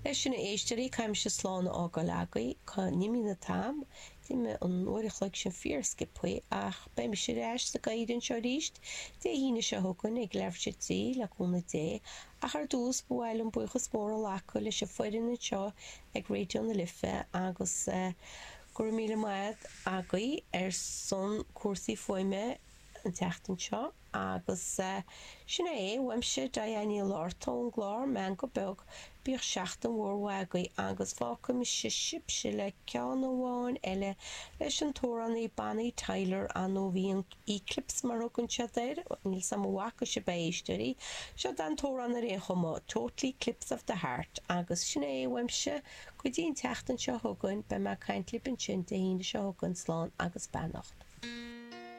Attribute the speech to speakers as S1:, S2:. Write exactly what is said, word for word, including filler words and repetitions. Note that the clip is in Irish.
S1: Leis sin, a éisteoirí, caithfidh mise slán a fhágáil agaibh, tá imíonn an t-am, d'imigh an uair a chloig sin fíor sciobthaí, ach beidh mise ar ais sa gcathaoir anseo arís Dé hAoine seo chugainn ag leathuair tar éis a trí, le cúnamh Dé, ach ar dtús ba mhaith liom buíochas mór a ghlacadh leis an foireann anseo ag Raidió na Life agus go raibh míle maith agaibh ar son cúrsaí fuaime an tseachtain seo agus sin é uaimse Diane Ní Fhlatharta ón gclár Meangadh Beag, bíodh seachtain mhór mhaith agaibh agus fágfaidh mise sibhse le ceann amháin eile leis an t-amhránaí Bonnie Tyler nó bhí an Eclipse mar a thugann siad air, níl 's a'm an bhfaca sibh é a éisteoirí, seo an t-amhrán ar aon chuma, Total Eclipse of the Heart agus sin é uaimse go dtí an tseachtain seo chugainn, beidh mé ag caint libh ansin Dé hAoine seo chugainn, slán agus beannacht.